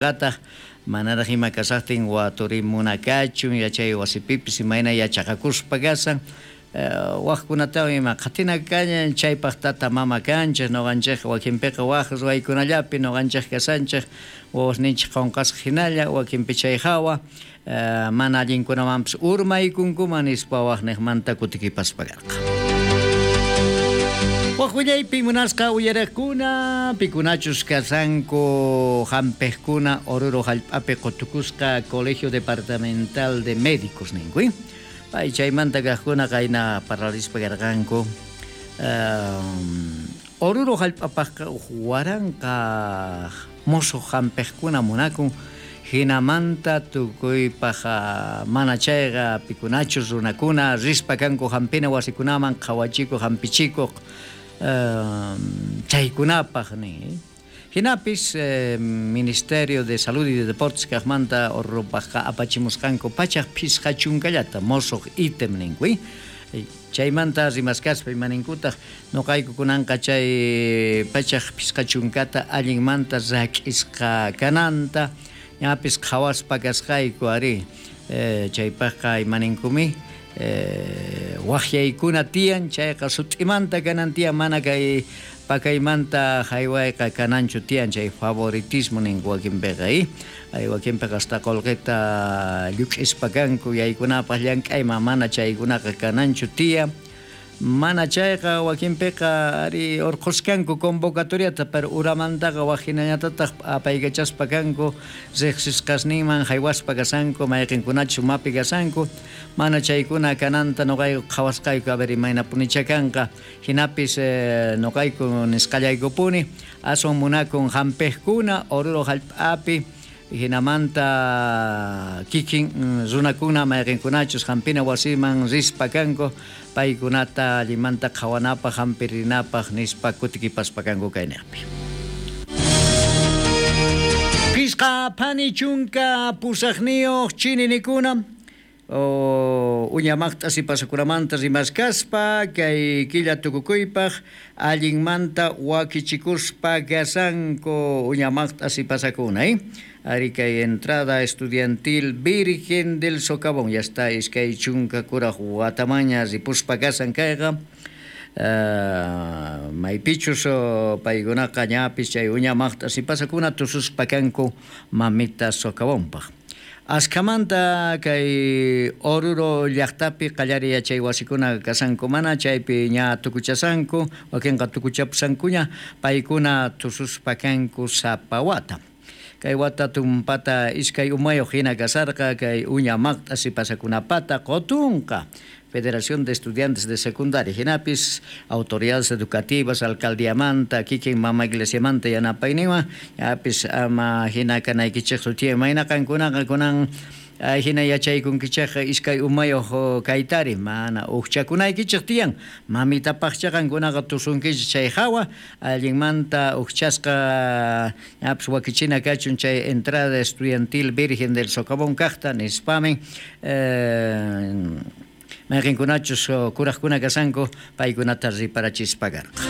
Qataq manaraq ima kashajtin waturimuna kachun yachay wasipipis imayna yachaqakuspa kashan wajkunatawan ima qhatina kañan chaypaq tata mama kanchej noqanchejqa wakinpiqa waj ruwaykunallapi noqanchej kashanchej wawasninchej qonqasqa jinalla wakinpi chay jawa mana allinkunamanpis urmaykunkuman nispa wajnejmanta kutikipaspa karqa. Waj willaypi munasqa uyarejkuna pikunachus kashanku jampejkuna Oruro jallp'api qotukusqa Colegio Departamental de Médicos ninku. Pay chaymanta kajkuna qayna parlarispa karqanku. Oruro jallp'apajqa uj 1000 mosoj jampejkuna munakun jinamanta tukuypaj mana chayqa pikunachus runakuna rispa kanku jampina wasikunaman qhawachikuq jampichikuq chaykunapaj nin. Jinapis Ministerio de Salud y de Deportes kajmanta Orurupajqa apachimusqanku 150llata mosoj ítem ninku. Chaymanta rimaskaspa imaninkutaj noqayku kunanqa chay 150ta allinmanta rak'isqa kananta ñapis qhawaspa kasqayku ari chaypajqa imaninkumi wajyaykuna tiyan chayqa sut'imanta kanan tiyan mana kay pakaymanta jaywayqa kananchu tiyan chay favoritismo ninku wakinpiqa ay wakinpiqa hasta qolqeta lluk'ispa kanku yaykunapaq llank'ayman mana chaykunaqa kananchu tiyan mana chayqa wakinpiqa ari urqhuskanku convocatoriata pero uramantaqa waj jinallatataq apaykachaspa kanku riqsisqasninman jaywaspa kashanku mayqinkunachus umapi kashanku mana chaykuna kananta noqayku qhawasqayku a ver imaynapunicha kanqa jinapis noqayku nisqallaykupuni aswan munakun jampejkuna Oruro jallp'api jinamanta kikin runakuna mayqinkunachus jampina wasiman rispa kanku paykunata allimanta qhawanapaq jampirinapaq nispa kutikipaspa kanku kayniqpi. 58 chininikuna uña maqt'as pasakunamanta rimaskaspa kay killa tukukuypaq allinmanta wakichikuspa kashanku uña maqt'as pasakuna ari kay entrada estudiantil Virgen del Socavón ya está 23 kuraj watamaña ripuspa kashan kayqa maypichus paykunaqa ñapis chay uña maqt'as pasakuna tususpa kanku mamita Socavónpaq. Askhamanta kay Oruro llaqtapi qallari yachay wasikuna kashanku mana chaypi ña tukuchasanku wakinqa tukuchapusankuña paykuna tususpa kanku sapa wata. Kay wata tumpata iskay umayuq hina kasarqa kay uña maqt'as pasakunapata qotunqa Federación de Estudiantes de Secundaria jinapis autoridades educativas alcaldiamanta kikin mama iglesiamanta yanapayninwan yapis ama hina kanaykichejchu tiyan mayna qankunaqa kunan hina yachaykunkichejqa iskay umayuq kaytari mana ujchakunaykichej tiyan mamitapaqcha qankunaqa tusunkichej chay jawa allinmanta ujchasqa yapis wakichina kachun chay entrada estudiantil Virgen del Socavón kajta nispamin mayqinkunachus kurajkuna kashanku paykunata riparachispa karqa.